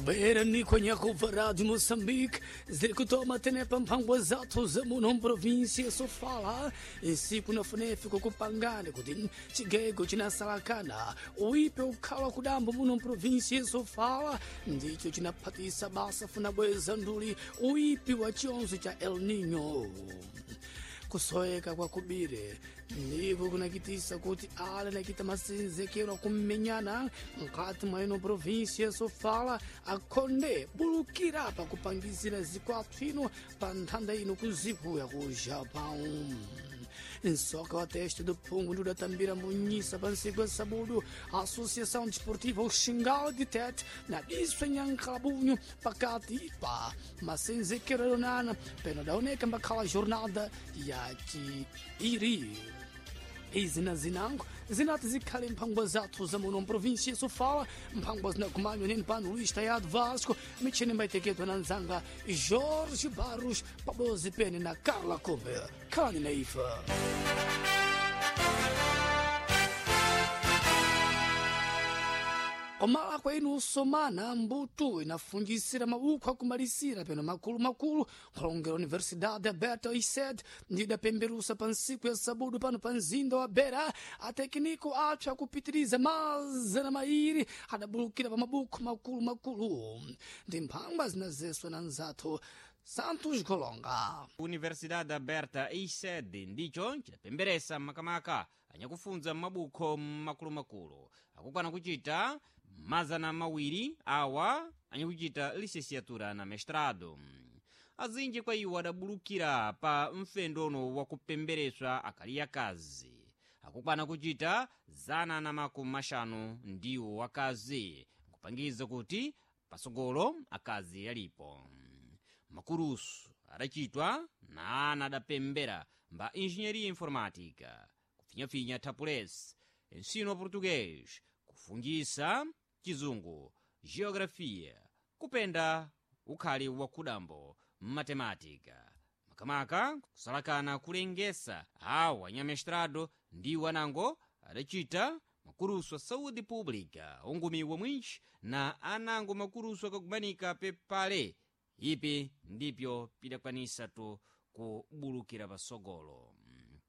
Bwerani kwenye kuva Rádio Moçambique, ziri kutoma tenepa mphangwa zathu za muno mprovinsia Sofala, insiku na funefi kukupangani kuti chigego chinasalakana uipe ukhala kudambo muno mprovinsia Sofala ndicho chinaphatisa basa funa bweza nduli uipi wa chionzo cha El Nino. Kusoeka kwa kubire ndiko kunakitisa kuti ale nakita masenzekero akummenyana mkati mwa ino provinsia Sofala akhonde bulukira pakupangizira zikwathu ino pa nthanda ino kuziku ya ku Japão. Nsoka wa teste do Pungo ndudatambira munyisa pa nsiku ya sabudu a Associação Desportiva Oxingal de Tete na diso nyankalabunho pakati pa masenzekero yonana peno daoneka mbakhala jornada ya chiiri. Izi na zinango zinati zikhale mphangwa zathu za muno mprovinsia Sofala, mphangwa zinakumanywa nini pano Luís Tayado Vasco, michini maiteketwa na nzanga Jorge Barros pabozi pene na Carla Kumbe. Khalani na ifa. Komala kwa inu usomana mbuto inafungisira mabuku akumalisira peno makulu-makulu nkhulongera Universidade Aberta ISED ndidapemberusa pa nsiku ya sabudu pano pa mzinda wa Beira atekiniko athu akupitiriza mazana mairi adabulukira pa mabuku makulu-makulu ndi mphangwa zinazeswa na nzathu Santos Golonga. Universidade Aberta ISED ndicho chidapemberesa makamaka anyakufunza mabukho makulumakulu akukwana kuchita 200 awa anyakuchita licenciatura na mestrado. Azinji kwa iwo adabulukira pa mfendono wakupembereswa akali akazi akukwana kuchita 150 ndiwo akazi, nkupangiza kuti pasogolo akazi alipo. Makurusu adachitwa na ana adapembera mba engenharia informática, kufinyafinya tapules, ensino português, kufungisa chizungu, geografia, kupenda ukhali wa kudambo, matemática, makamaka kusalakana kulengesa awa anyamestrado ndiwo anango adachita makurusu a saúde pública ongumiwa mwinji na anango makurusu akakumanika pepale ipi ndipyo pidakwanisa tu kubulukira pasogolo.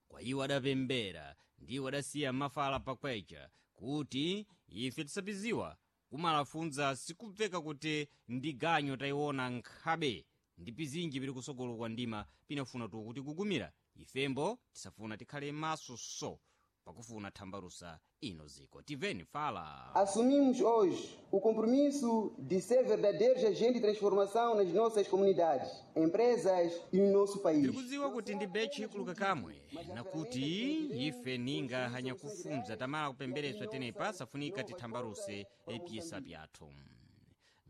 Kwa iwo adapembera ndiwo adasiya mafala pakwecha kuti ife tisapiziwa kumalafunza sikubveka kuti ndi ganyo tayiona nkhabe ndi pizinji pili kusogolo kwa ndima pinafuna tu kuti kugumira ifembo tisafuna tikhale maso so pakufuna thambalusa ino ziko tiveni fala. Assumimos hoje o compromisso de ser verdadeiros agentes de transformação nas nossas comunidades, empresas e no nosso país. Tikudziwa kuti ndi bechi ikuluka kamwe nakuti ife ninga hanyakufunza tamala kupembereswa tenepa safunika tithambaluse epyesa pyathu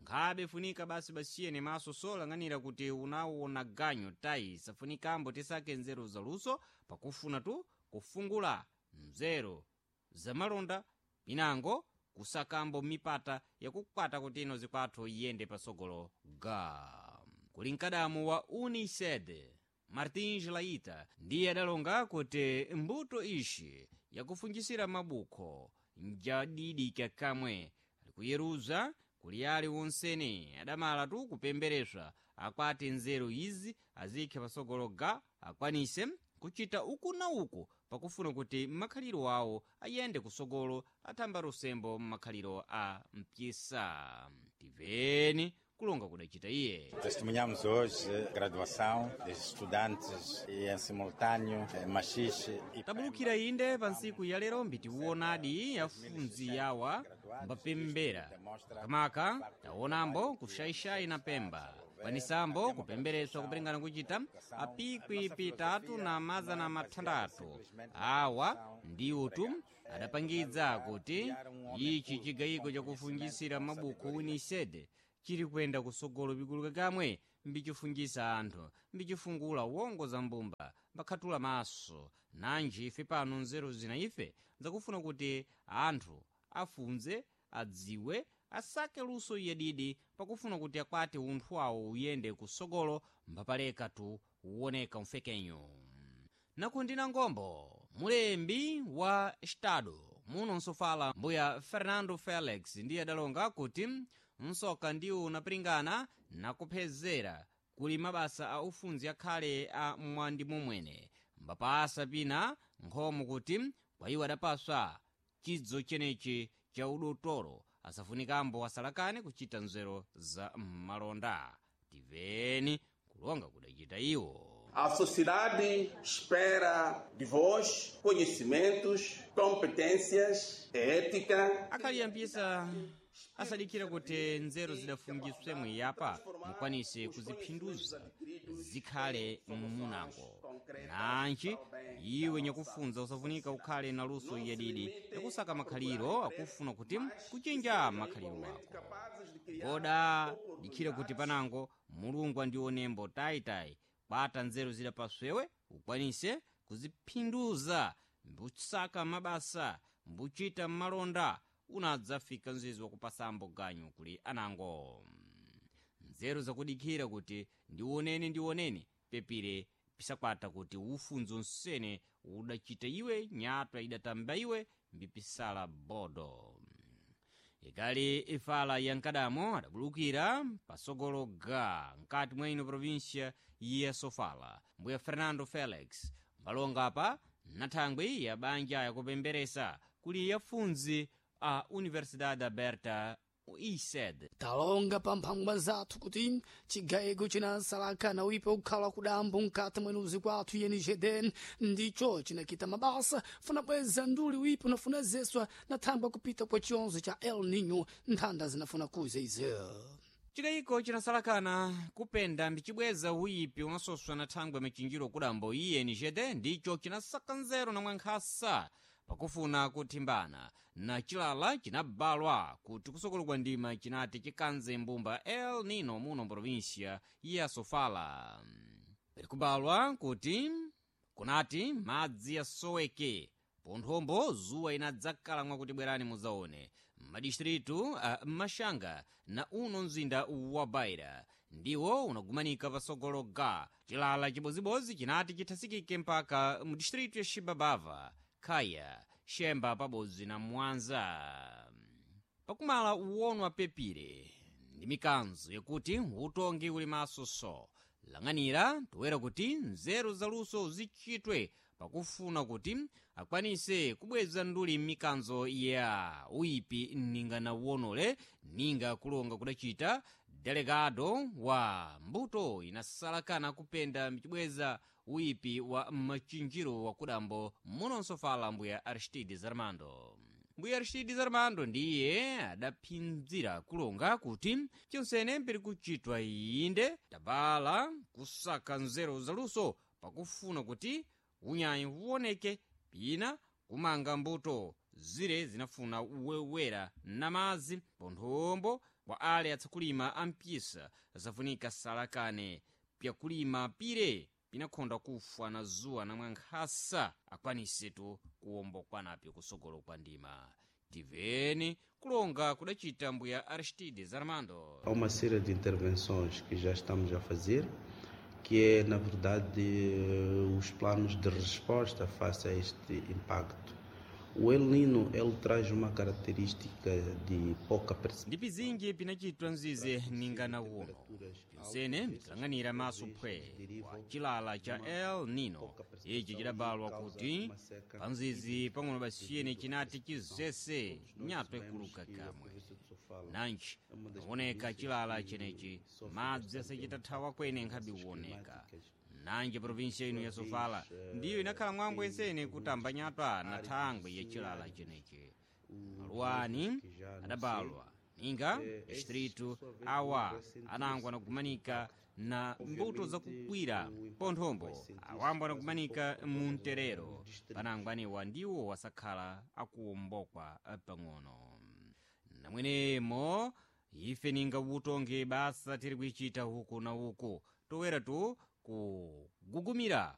nkhabe funika basi basiyene maso solang'anira kuti unawona ganyo tayi safunikambo tisake nzeru zaluso pakufuna tu kufungula nzeru zamalonda pinango kusakambo mipata yakukwata kuti ino zikwathu iyende pasogolo ga kuli mkadamu wa uniced Martins Laita ndiye adalonga kuti mbuto ishi yakufungisira mabukho njadidika kamwe alikuyeruza kuli ali wonsene adamala tu kupembereswa akwati nzeru izi azikhe pasogolo ga akwanise kuchita uku na uku pakufuna kuti makhaliro awo ayende kusogolo athamba lusembo mmakhaliro a mpyisa. Tiveni kulonga kudachita iye. Testemunhamos hoje a graduação dos estudantes e em simultâneo machixe e Tabulukira inde pa ntsiku ya lero mbitiwonadi yafunzi yawa mbapembera makamaka taonambo kuxaixai na Pemba kwanisambo kupembereswa kupelengana kuchita apikwi pitatu na 600 awa ndiwo tu adapangidza kuti ichi chigayiko chakufungisira mabuku uniced chili kuyenda kusogolo pikuluka kamwe mbichifungisa anthu mbichifungula wongo za mbumba mbakhatula maso nanji ife pano nzeru zina ife zakufuna kuti anthu afunze adziwe asake luso yedidi pakufuna kuti akwate unthu awo uyende kusogolo mbapaleka tu uwoneka mfekenyo. Nakundina ngombo mulembi wa estado muno nsofala mbuya Fernando Felix ndiye adalonga kuti Nsoka ndiwo unapiringana nakuphezera kuli mabasa a ufunzi akhale a mwandi momwene mbapasa pina nkhomo kuti kwa iwo adapaswa chidzo chenechi cha udotolo asafunikambo asalakane kuchita nzeru za malonda. Tiveni kulonga kudachita iwo. A sociedade espera de vós conhecimentos, competências, ética. Akhali ampisa asadikira kuti nzeru zidafungiswe mwiyapa mukwanise kuziphinduza zikhale munango. Nanji iwe nyakufunza usafunika ukhale na luso yadidi yakusaka makhaliro akufuna kuti kuchinja makhaliro wako. Ngoda dikhira kuti panango Mulungu andionembo tayitayi kwata nzeru zidapaswewe ukwanise kuziphinduza mbusaka mabasa mbuchita malonda unadzafika mzizi wakupasambo ganyu kuli anango. Nzeru zakudikhira kuti ndioneni ndioneni pepire pisakwata kuti ufunzo nsene udachita iwe nyatwa idatamba iwe mbipisala bodo. Ikali ifala ya nkadamo adabulukira pasogolo ga mkati mwa ino província ya Sofala mbuya Fernando Felix mbalonga apa nathangwi ya banja yakupemberesa kuli yafunzi a Universidade Aberta ISED. Talonga pa mphangwa zathu kuti chigayiko chinasalakana uipe kukhala kudambo mkati mwenuzi kwathu yenijeden ndicho chinakita mabasa funa bweza nduli uipe unafuna zeswa na thangwa kupita kwa chionzo cha El Nino nthanda zinafuna kuza izo. Chikayiko chinasalakana kupenda mbichibweza uyipi unasoswa na thangwi michinjiro kudambo INGD ndicho chinasaka nzeru na mwankhasa pakufuna kuthimbana na chilala chinabalwa kuti kusokolo kwa ndima chinati chikanze mbumba El Nino muno província ya Sofala. Pali kuti kunati madzi asoweke ponthombo zuwa inadzakhala mwakuti bwerani muzaone madistritu a Mashanga na uno mzinda wa Baira ndiwo unagumanika pasogolo ga chilala chibozibozi chinati chithasikike mpaka mu distritu ya Xibabava, Khaya, Xemba pabodzi na Mwanza. Pakumala uwonwa pepire ndi mikanzo yakuti utongi uli maso so lang'anira toera kuti nzeru zaluso zichitwe pakufuna kuti akwanise kubweza nduli mikanzo ya uyipi ninga na uwonole ninga kulonga kudachita delegado wa mbuto inasalakana kupenda michibweza uyipi wa machinjiro wa kudambo munonso fala mbuya Aristides Armando. Mbuya Aristides Armando ndiye adaphinzira kulonga kuti chonsene mpiri kuchitwa inde tabala kusaka nzeru zaluso pakufuna kuti unyayi uwoneke pina kumanga mbuto zire zinafuna uwewera na madzi ponthombo kwa ale atsakulima ampisa zafunika salakane pyakulima pire pinakhonda kufa na zuwa na mwankhasa akwanisetu kuwombokwanapyo kusogolo kwa ndima. Tiveni kulonga kudachita mbuya Aristides Armando. Há uma série de intervenções que já estamos a fazer, que é, na verdade, os planos de resposta face a este impacto. O El Nino, ele traz uma característica de pouca Ndi pizinji pinachitwa mzize ninga na uno pyonsene mbitilang'anira maso phwe kwa chilala cha El Nino ichi chidabalwa kuti panzizi pang'ono basiyene chinati chizese nyatwa ikuluka kamwe. Nanji pakuoneka chilala chenechi madzi asachitathawa kwene nkhabe uwoneka. Nanji provinsia ino ya Sofala ndiyo inakhala mwambo ensene kutamba nyatwa na thangwi ya chilala chenechi. Maluwani adabalwa ninga distritu awa anango anagumanika na mbuto zakukwira ponthombo awambo anagumanika mu mterero panango anewa ndiwo wasakhala akuwombokwa pang'ono. Namwenemo ife ninga utonge basa tiri kuichita huku na uku toweratu kugugumira.